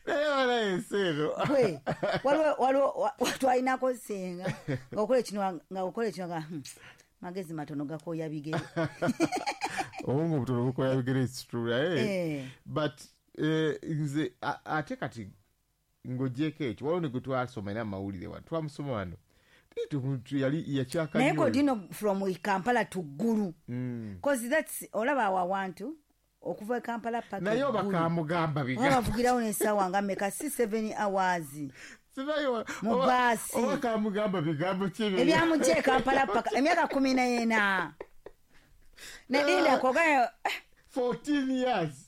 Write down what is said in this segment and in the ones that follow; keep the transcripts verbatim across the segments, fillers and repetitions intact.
Naye wala enseero. Gwe waliwo waliwo twalinako senga ng'okola ekino nga okola ekino nga magezi matono gakoya bigere. Obwongo butono bukoya bigere, it's true, eh? But nze ate kati ng'ogyeko ekyo, waliwo ne gwe twasoma era amawulire wano, twamusoma wano, yali yakyaka naye kodino from Kampala to Gulu, cause that's olaba awo awantu okuva e Kampala paka naye oba kamugamba bigambo bavugirawo n'essaawa nga mmeka, si seven hours mu baasi, oba kamugamba bigambo ki ebyamugye e Kampala paka emyaka kumi n'ena nedinda kogayo fourteen years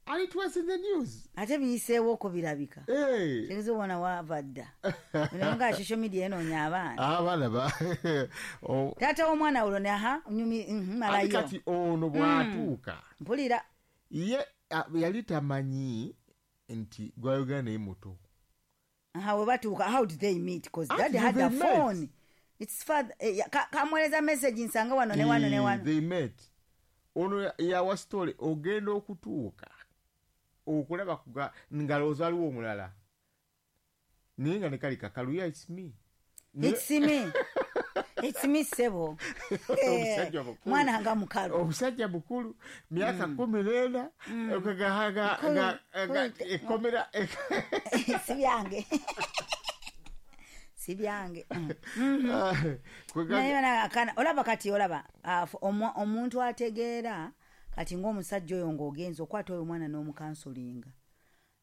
and it was in the news. Ate biyiseewo ko birabika. Hey. Tegeeza obwana wava dda. Nga social media enoonya abaana. Abaana ba. Taata w'omwana olwo ne aha nyumi malayo. Kati ono bw'atuuka. Mpulira. Ye yali tamanyi nti gwayogera naye muto. Aha we batuuka, how did they meet? Because daddy had a phone. It's father kamweleza message nsanga wano ne wano ne wano. They met. Ono yawa story ogenda okutuuka. Okulaba kuga ngalowooza aliwo omulala naye nga ne kali kakaluya, it's me. It's me. It's me sebo. Mwana nga mukalu. Omusajja mukulu myaka kumi n'ena ekomera si byange. Si byange. Naye olaba kati olaba omuntu ategeera kati ng'omusajja oyo ng'ogenza okwata oyo omwana n'omukansolinga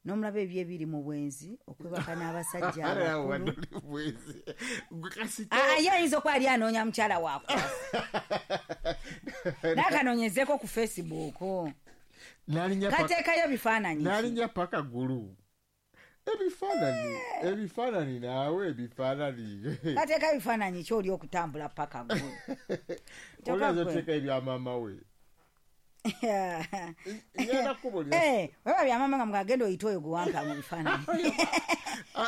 n'omulaba ebyo ebiri mu bwenzi okwebaka n'abasajja abakulu. Ye ayinza okuba ali anoonya mukyala wakwasa n'akanoonyezeeko ku Facebook kateekayo bifaananyi n'alinnya paka ggulu ebifaananyi ebifaananyi naawe ebifaananyi kateekayo bifaananyi ki oli okutambula paka ggulu oyinza oteeka ebya maama we. Eh, wewe bya mama nga mugagenda oyita oyo guwanka mu bifaananyi.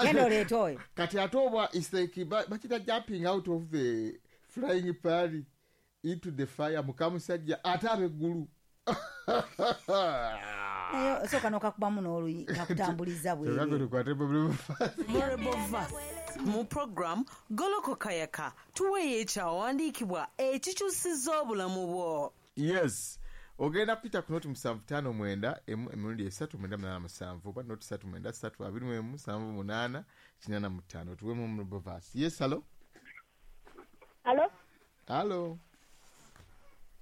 Genda oleeta oyo. Kati ate obwa is like bakita jumping out of the flying pan into the fire mukamusajja ate abeggulu. Naye osooka n'okakubamu n'oluyi kakutambuliza bweru. Mu program Golokoka Yaka tuweeyo ekyawandiikibwa ekikyusizza obulamu bwo. Yes. Ogenda kupita ku noti musanvu ttaano mwenda emu emirundi esatu mwenda munaana musanvu oba noti ssatu mwenda ssatu abiri mu emu musanvu munaana kinaana mu ttaano tuweemu memorable verse. Yes, hello. Hello. Hello.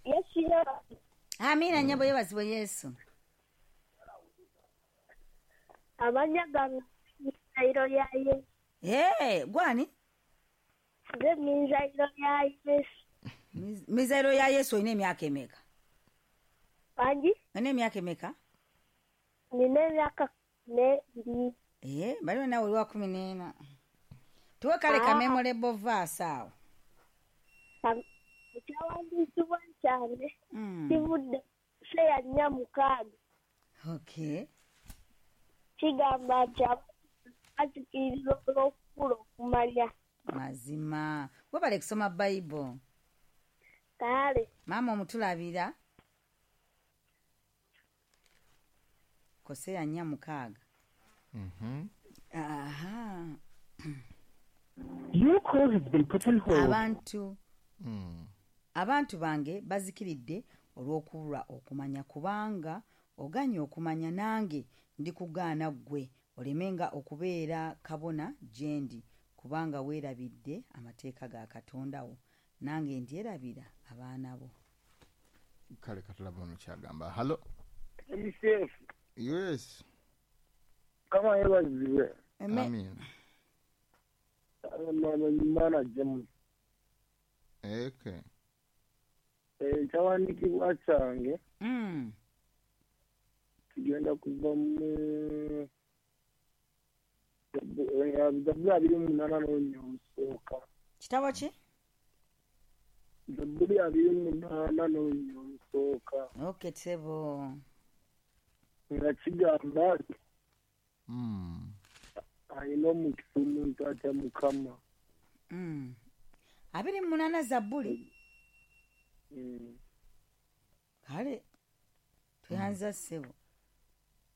Yes, sir. Amina nnyabo yeebazibwe Yesu. Amannya gange Mizayiro ya Yesu. Hey, gwani? Nze Mizayiro ya Yesu. Mizayiro ya Yesu olina emyaka emeka? Bangi? Olina emyaka emeka? Nina emyaka n'ebiri. Eh, baliwo naawe oli wa kumi n'ena. Tuwe kale ka memorable verse awo. Ekyawandiikibwa kyange kivudde Koseya nnya mukaaga. Okay. Kigamba nti bazikirira olw'okubula okumanya. Mazima. Webale kusoma Bible. Kale. Maama omutulabira. Koseya nnya mukaaga. Mhm. Aha. Your call has been put on hold. Abantu. Mm. Abantu bange bazikiridde olw'okubulwa okumanya kubanga oganye okumanya nange ndikugaana ggwe olemenga okubeera kabona gye ndi kubanga weerabidde amateeka ga Katonda wo nange ndyerabira abaana bo. Kale katulaba ono kyagamba. Hello. M C F. Yes. Kama yeebazibwe. Amen. Mana James. Okay. Ekyawandiikibwa kyange Mm. kigenda kuva mu Zabbuli abiri mu munaana n'olunya olusooka. Kitabo ki? Zabbuli abiri mu munaana n'olunya olusooka. Okay, ssebo. Nga kigamba nti Mm. alina omukisa omuntu atya Mukama. Mm. Abiri mu munaana Zabbuli. Mm. Kale tweyanza ssebo.